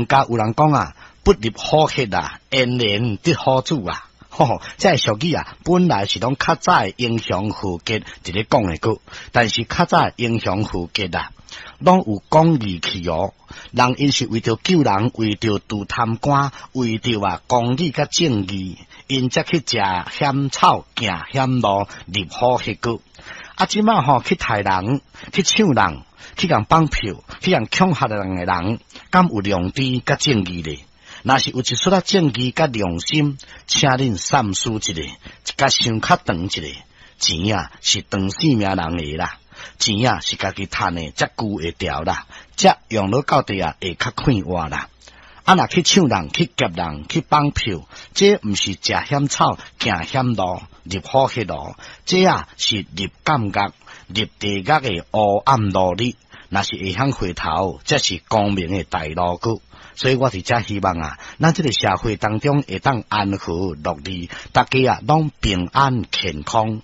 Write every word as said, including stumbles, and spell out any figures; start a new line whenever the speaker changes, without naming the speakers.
家有人講啊，不入虎穴啊，焉能得虎子啊？吼，這个俗語啊，本來是攏較早的英雄豪傑佇咧講的歌，但是較早的英雄豪傑啊，攏有講義氣哦。人𪜶是為著救人，為著除貪官，為著啊公理佮正義，𪜶才去食險草、行險路、入虎穴閣。啊，這馬吼去刣人、去搶人、去共綁票、去共恐嚇人的人，敢有良知佮正義咧？若是有一絲仔正義佮良心，請恁三思一下，共想較長一下，錢啊是長性命人的啦，錢啊是家己趁的，才顧會牢啦，才用落到底啊會較快活啦。啊，若去搶人、去劫人、去綁票，這毋是食險草、行險路、入虎穴路，這啊是入監獄、入地獄的烏暗路裡。若是會曉回頭，才是光明的大路閣。所以我佇遮希望啊，咱這个社會當中會當安和樂利，大家啊攏平安健康。